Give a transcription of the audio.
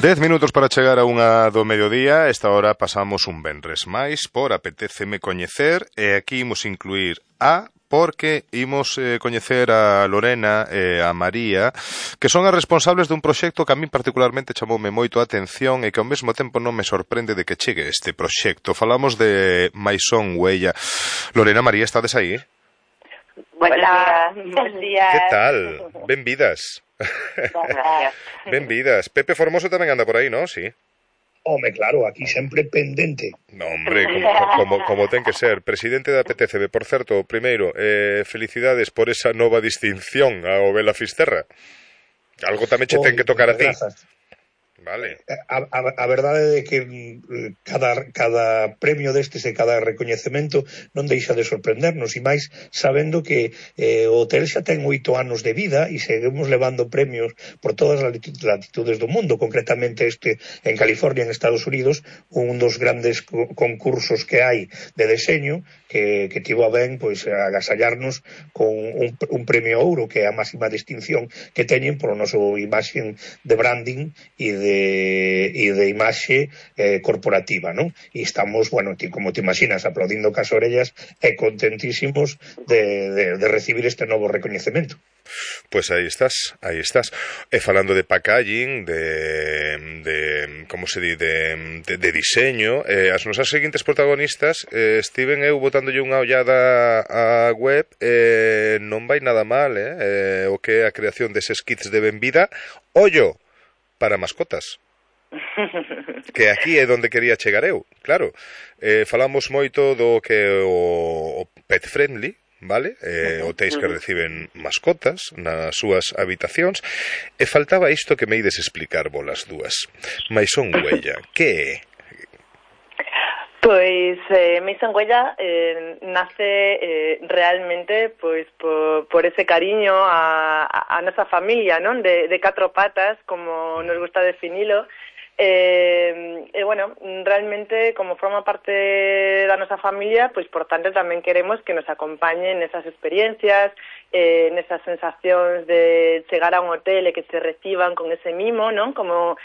10 minutos para chegar a unha do mediodía. Esta hora pasamos un venres máis por Apetéceme Coñecer, e aquí imos incluir porque imos coñecer a Lorena e a María, que son as responsables dun proxecto que a min particularmente chamoume moito a atención e que ao mesmo tempo non me sorprende de que chegue este proxecto. Falamos de Maison Huella. Lorena, María, estades aí? Hola, bons días. Que tal? Benvidas. Benvidas. Pepe Formoso tamén anda por aí, non? Sí. Home, claro, aquí sempre pendente. No, hombre, como ten que ser. Presidente da PTCB, por certo, primeiro, felicidades por esa nova distinción ao Bela Fisterra. Algo tamén che ten que tocar a ti. Grazas. Vale. A verdade é que cada premio destes e cada recoñecemento non deixa de sorprendernos, e máis sabendo que o hotel xa ten 8 anos de vida e seguimos levando premios por todas as latitudes do mundo, concretamente este en California, en Estados Unidos, un dos grandes concursos que hai de deseño que tivo a ben pois agasallarnos con un premio ouro, que é a máxima distinción que teñen por o noso imaxen de branding e de imaxe corporativa, non? E estamos, bueno, como te imaginas, aplaudindo cas orellas e contentísimos de recibir este novo recoñecemento. Pois aí estás. E falando de packaging, de como se di, de diseño, as nosas seguintes protagonistas, estiven eu botándolle unha ollada á web, non vai nada mal, o que é a creación deses kits de benvida, ollo, para mascotas. Que aquí é onde quería chegar eu, claro. Falamos moito do que o pet friendly, vale? Hotéis que reciben mascotas nas súas habitacións, e faltaba isto que me ides explicar volas dúas. Maison Huella, que é? Pois Maison Huella nace realmente pois por ese cariño a nosa familia, non? De 4 patas, como nos gusta definilo. Bueno, realmente como forma parte da nosa familia, pois por tanto tamén queremos que nos acompañen nesas experiencias, nesas sensacións de chegar a un hotel e que te reciban con ese mimo, non? Como